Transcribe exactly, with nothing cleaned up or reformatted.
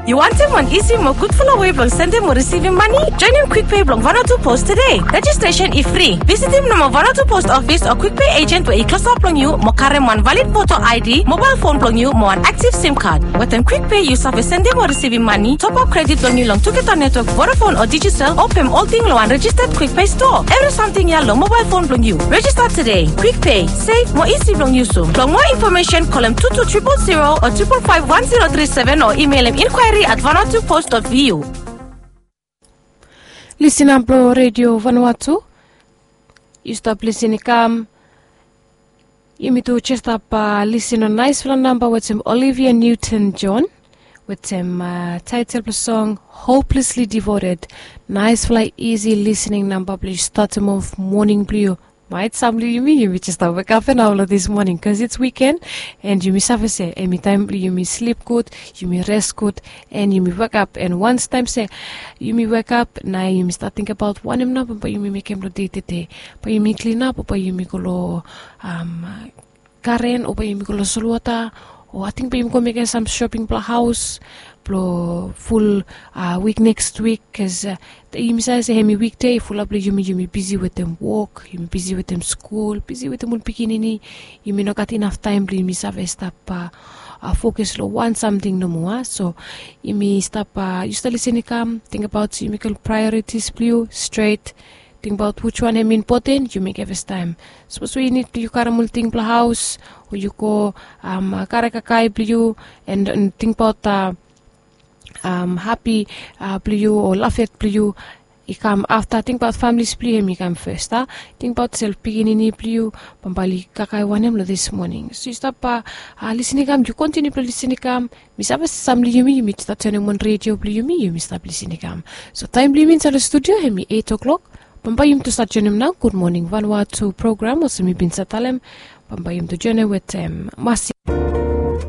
Yu wantem wan isi mo gudfala wei blong sendem o risivim mane? Joenem Quick Pay blong Vanuatu Post tede. Rejistresen i fri. Visitim nomo Vanuatu Post ofis o Quick Pay agent we i klosap long yu mo karem wan valid poto I D, mobael fon blong yu mo wan aktiv sim kad. Wetem Quick Pay yu save sendem o risivim mane, topap kredit blong yu long tugeta netwok Vodafone o Digicel, o pem olting long wan rejisted Quick Pay stoa. Evri samting ya long mobael fon blong yu. Rejista tede. Quick Pay, sef mo isi blong yusum. Blong moa infomesen, kolem tu tu tripol zero o tripol faef wan zero tri seven o imelem inquiry at vanuatu post dot V U. Listener blong Redio Vanuatu, yu stap lisin i kam. Yumi tu jes stap lisin long naesfala namba wetem Olivia Newton John wetem taetel blong song Hopelessly Devoted. Naesfala isi lisening namba blong yu statem of moning blong yu. Maet sam long yumi, yumi jes stap wekap ya nao long dis moning, bikos it's wiken. And yumi save se hemi taem blong yumi slip gud, yumi res gud, and yumi wekap. And wans taem se yumi wekap, nao yumi stat tingbaot wanem nao bae yumi mekem long dei tede. Bae yumi klinap o bae yumi go long garen o bae yumi go long solwota, o ating bae yumi go mekem sam shoping blong haos blong ful wik neks wik. Bikos yumi save se hemi wikde, fulap blong yumi, yumi bisi wetem wok, yumi bisi wetem skul, bisi wetem ol pikinini. Yumi no gat inaf taem blong yumi save stap fokus long wan samting nomo. So yumi stap, yu stap lisin i kam, tingbaot se yu mekem ol praeoritis blong yu stret. Tingbaot wiswan hemi impoten, yu mekem fastaem. Sapos we yu nid blong yu karem ol ting blong haos, o yu go karem kakae blong yu, and tingbaot hapi blong yu o lafet blong yu i kam afta. Tingbaot familis blong yu hemi kam fes. Tingbaot se ol pikinini blong yu bambae oli kakae wanem long dis moning. So yu stap lisin i kam, yu kontiniu blong lisin i kam. Mi save se sam long yumi, yumi jes stat joenem wan redio blong yumi, yumi stap lisin i kam. So taem blong yumi insaed long studio hemi eit o'klok. Bambae yumi tu stat joenem nao Gud Moning Vanuatu program olsem mi bin save talem. Bambae yumi tu joenem wetem Masi